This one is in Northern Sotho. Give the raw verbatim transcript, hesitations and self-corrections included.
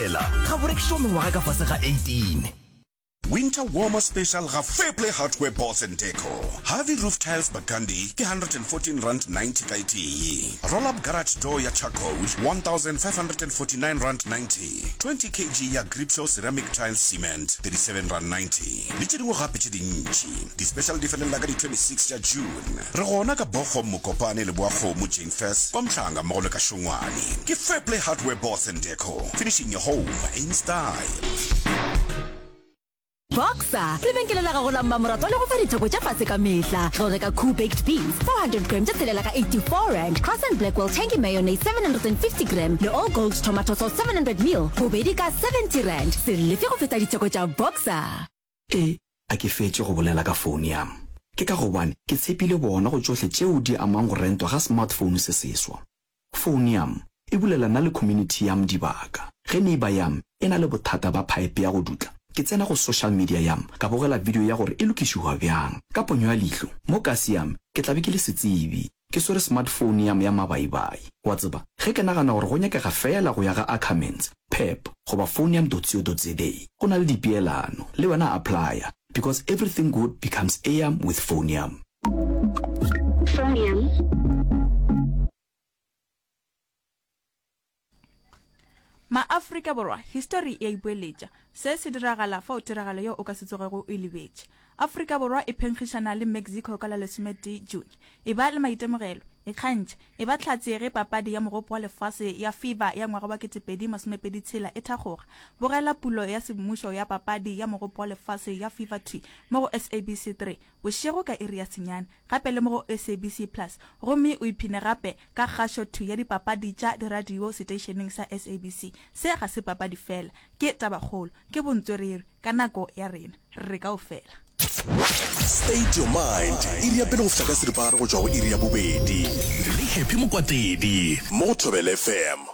Thobela ga bo rekišwa mengwaga ka fase ga eighteen. Winter Warmer Special ga Fairplay Hardware Boards and Deco. Harvey Roof Tiles Burgundy ke one hundred fourteen rand ninety ka e tee. Roll up garage door ya charcoal one thousand five hundred and forty nine rand ninety. twenty kg ya Gripshow ceramic tile cement thirty seven rand ninety. Le tše dingwe gape tše dintši. Di-special di felela ka di twenty six tša June. Re gona ka Bochum, Mokopane, Leboakgomo, Jane Furse, kwa Mhlanga mmogo le ka Šongwane. Ke Fairplay Hardware Boards and Deco. Finishing your home in style. Boxer, lebenkele la gago la mmamoratwa le go fa ditheko tša fase ka mehla. Ge o reka Koo Baked Beans four hundred gram tše tshelela ka eighty-four rand, Cross and Blackwell Tangy Mayonnaise seven hundred and fifty gram le All Gold Tomato Sauce seven hundred mil bobedi ka seventy rand. Se lefe go feta ditheko tša Boxer. E, a ke fetše go bolela ka FoneYam. Ke ka gobane ke tshepile bona go tšohle tšeo di amang go rentwa ga smartphone se seswa. FoneYam e bulela nna le community yam dibaka. Ge neighbor yam e na le bothata ba pipe ya go dutla, ke tsena go social media yam ka bogela video ya gore e lokišiwa bjang. Ka ponyo ya leihlo, mo kasi yam ke tla be ke le setsebi, ke swere smartphone yam ya mabaibai. Wa tseba, ge ke nagana gore go nyakega feela go ya ga Ackermans, Pep goba foneyam dot co dot za, go na le dipeelano. Le wena applya, because everything good becomes am with FoneYam. FoneYam. Maafrika Borwa, histori e a ipoeletša. Se se diragala fao tiragalo yeo o ka se tsogego o e lebetše. Afrika Borwa e phenkgišana le Mexico ka la lesometee June. Eba le maitemogelo, ikgantšhe, eba hlatse ge papadi ya Mogopo wa Lefase ya FIFA ya ngwaga wa ketepedi masomepedi tshela e thakgoga. Bogela pulo ya semmušo ya papadi ya Mogopo wa Lefase ya FIFA thwi mo go S A B C three bošego ka iri ya senyane, gape le mo go S A B C Plus, gomme o iphine gape ka kgašo thwi ya dipapadi tša diradio seteišeneng sa S A B C. Se ga se papadi feela, ke tabakgolo, ke bontswerere ka nako ya rena, re kaofela. State Your Mind, iri ya pele go fihla ka seripagare go tšwa go iri ya bobedi. Le Happy Mokwatedi mo go Thobela F M.